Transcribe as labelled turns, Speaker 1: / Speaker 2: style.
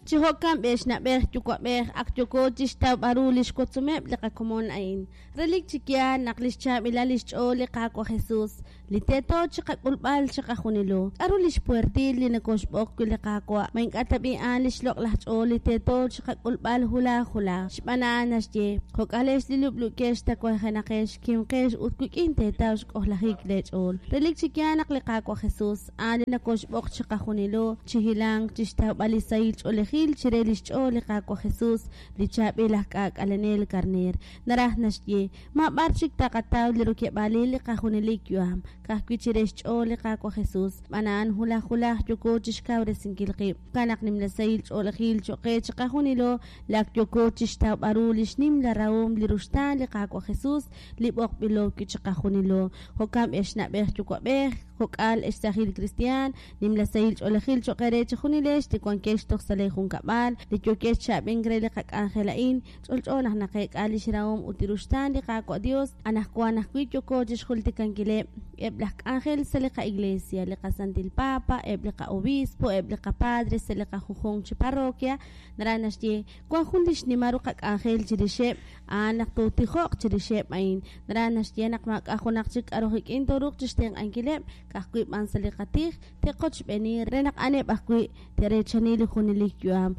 Speaker 1: Chi jo'kan b'ex na'b'ej yuwa'b'ej ak yooko chixtawb'al ru lix wotzomeb' li qakomon a'in. Relik chi yaal naq lix chaab'ilal lix ch'ool li Qaawa' Jesus, li teeto chiqak'ulb'al chiqajunilo. K'a'ru lix puertil li nokoxb'oq wi' li Qaawa'? Ma ink'a' tab'i' a'an lix loq'laj ch'ool li teeto chiqak'ulb'al hulaj hulaj? Xb'aan a'an naxye, Jo'k'alex li lub'luukex tawajenaqex, kimqex ut wik'in teetaw xk'ojlajik lee ch'ool. Relik chi yaal naq li Qaawa' Jesus, A'an li nokoxb'oq chiqajunilo chi hilank chixtawb'al li sahil ch'oolejil chire lix ch'ool li Qaawa' Jesus, li chaab'il aj k'aak'alenel karneer. Naraj naxye, maab'ar chik taqataw li rokeb'aalil li qajunelik yu'am, ka'ajwi' chire xch'ool li Qaawa' Jesus, xb'aan a'an wulaj wulaj yooko chixkawresinkil qib'. Jo'kan naq nimla sahil ch'oolejil choq' qe chiqajunilo li ak yooko chixtawb'al ru lix nimla rahom li ruxtaan li Qaawa' Jesus li b'oqb'ilo wi' chiqajunilo. Jo'kan b'ex na'b'ej yuwa'b'ej, kok'al, ex saajil kristiaan, nimla sahil ch'oolejil choq' eere chejunilex li wankex toj sa' lee junkab'al, li yookex chi ab'ink re li qak'anjel a'in. Ch'olch'o naq naqeek'a lix rahom ut li ruxtaan li Qaawa' Dios. Anajwan ajwi' yooko chixjultikankileb' eb' laj k'anjel sa' li qa'iglesia, li qaSantil Papa, eb' li qa'obispo, eb' li qapadre sa' li qajunjunq chi parroquia. Naraj naxye, wan jun li xnimal ru qak'anjel chirixeb', a'an naq tootijoq chirixeb' a'in. Naraj naxye naq maak'a' junaq chik k'a'ru qik'in tooruuq chixtenq'ankileb', ka'ajwi' b'an sa' li qatij, te'qochb'eeni re naq a'aneb' ajwi' te'reechani li junelik yu'am.